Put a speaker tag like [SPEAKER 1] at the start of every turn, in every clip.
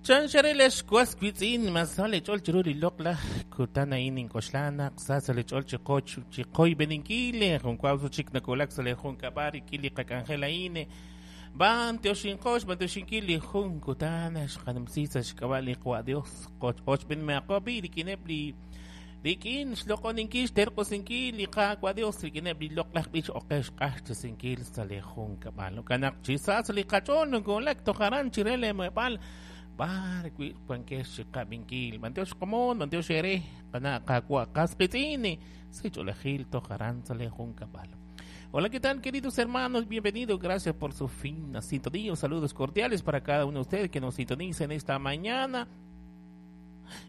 [SPEAKER 1] Chanxarel was witz'in masal lech'ol chiru li loq'laj kutan a'in ink'oxla naq sa sa lech'ol chiqoyb'eninkil jun kwawsu chik nakulak sa' le junkab'al rik'in li qak'anjel a'in b'antioxinqox b'antioxinkil li jun kutan xqanumsi sa' xk'ab'a' li Qawa' Dios qochb'enmeaqo b'i rik'ineb' li rik'in xloq'oninkil xterq'usinkil li Qaawa' Dios rik'ineb' li loq'laj b'ich oqex q'axtesinkil sa' le junkab'al jo'kan naq chi sa sa' li qach'ool nokoolak toj aran chire le muheb'aal bar wi wankex chiqab'inkil b'antiox komon b'antiox ere qana' Qaawa' qas qitz'in sich'oolejil toj aran sa' le junkab'al. Hola, ¿qué tal, queridos hermanos? Bienvenidos, gracias por su fina sintonía. Saludos cordiales para cada uno de ustedes que nos sintonicen esta mañana,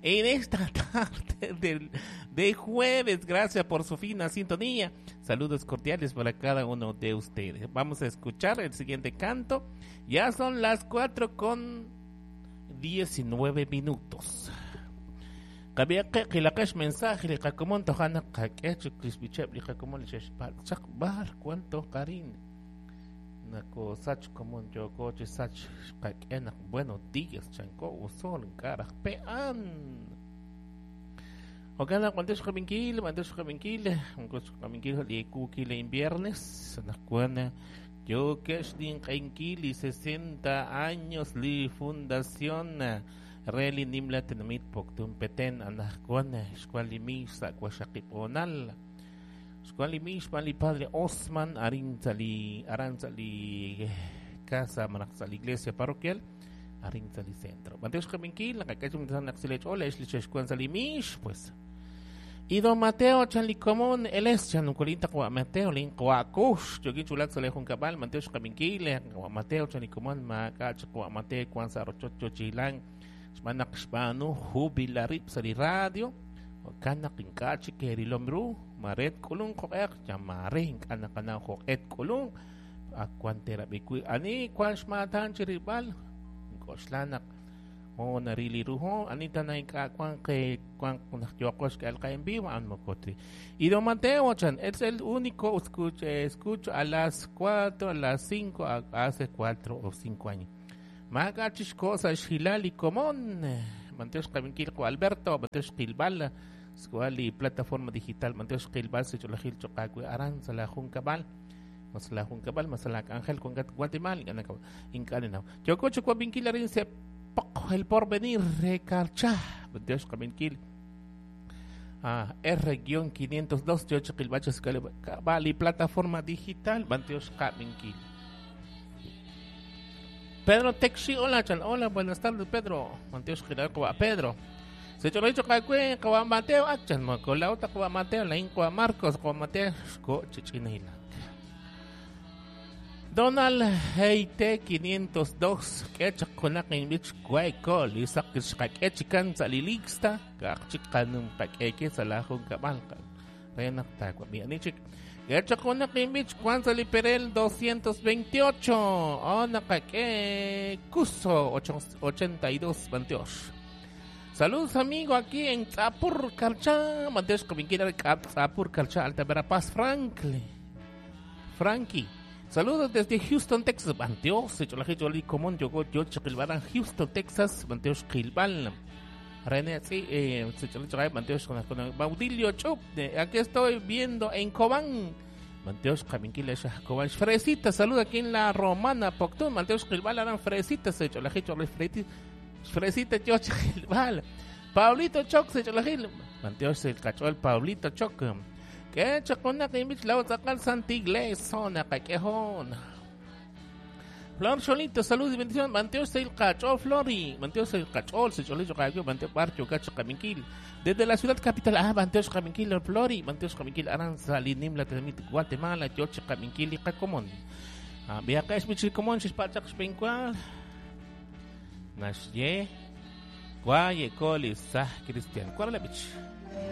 [SPEAKER 1] en esta tarde de jueves. Gracias por su fina sintonía. Saludos cordiales para cada uno de ustedes. Vamos a escuchar el siguiente canto. Ya son las 4:19. Qabiaqe qilaqex mensaje li qakomon tojana qak'ech kisbicheb li qakomon li xexpal chaq bar cuánto qarin nako sach komon yoko chi sach qak'e naq buenos días chanko usol nkaraj pe'an Ojalá cuando xqabinkil cuando xqabinkil xqabinkil li kukil en viernes naqwana yo kex dinq'enkil li 60 años li fundación Reli nimla tinamit Poptún Petén anajkuan xkualimi sa kuaxakiponal xkualimi xpali padre Osman arintzali arantzali casa manaqtzali iglesia parroquial arintzali centro Mateo xkabinkil nakakachum naqsilech ola xlichexkuan salimix pues y don Mateo chanlicomón él es chanucolinta kwa Mateo lin kuakush yogi chulak sale juncabal Mateo xkabinkil kwa Mateo chanlicomón makach kwa Mateo kwan sarochocho chilang xb'anaq xb'aanu jubilarib sa li radio kanaq ink'a' chik kerilom ru maret k'ulun qoq'eq yamare ink'a' naqanaw joq'et k'ulun akuan terab'i ani kwan xmatan chirib'al nk'oxla naq ho narili ru ho anita na ink'a' kwan ke kwan naq yoqox k'al qa en vivo an mokotri y don Mateo chan es el único escucho a las 4 a las 5 hace 4 o 5 años Magachis cosa xilali comón Mateo xqabinkil ko Alberto Mateo xqilbal squali plataforma digital Mateo xqilbal secholajil choqakui aran sala juncabal masala juncabal masala Ángel con Guatemala incanena Yococho cuabinkil arin se poco el porvenir recarcha Mateo xqabinkil R-502 yocho qilbachos cabal y plataforma digital Mateo xqabinkil Pedro Texi, hola, chan, hola, buenas tardes, Pedro. Mateo Xquilal, Pedro. Se chorro cacue, kawa Mateo, achan, macolauta, kawa Mateo, lain, kawa Marcos, kawa Mateo, xco, chichinila. Donald Heite 502, quecha konak in bich guaycol, isak xcaquechican salilixta, cachicanum paqueque, salajun cabalca. Renak tacua, mianichik. Quecha konak in bich Juan Saliperel 228, onakake, Cuso 82, Banteosh. Saludos amigo aquí en Tzapur Carchá, Mateos Cominquira, Tzapur Carchá, Alta Verapaz, Franklin. Frankie. Saludos desde Houston, Texas. Banteos, Cholajiloli, Común, Yogo, Yo, Chiquilbarán, Houston, Texas, Banteos, Quilbal. René, sí, Banteos, con Baudilio Chup, aquí estoy viendo en Cobán. Manteos Caminquila, Cobán, Fresita, saluda aquí en la Romana, Poctún, Manteos Quilbal, harán Fresita, se Cholajiloli, Fresita, yo, Chiquilbal. Pablito Choc, se Cholajil, Manteos, el cachol, Pablito Choc. Que chacona que invich la otra Santa Iglesia, caquejón. Flor Cholito, salud y bendición. Manteos el cachol, Flori. Manteos el cachol, se cholito, caqueo, Manteo Barcho, Cacho, Caminquil. Desde la ciudad capital, Manteos Caminquil, Flori. Manteos Caminquil, Aranza, Linim, la Temit, Guatemala, Yoche, Caminquil y Cacomón. Viaca es Michil Comón, Chispachak, Xpencual. Nashye, Guaye, Coli, Sah, Cristian. ¿Cuál es la bich?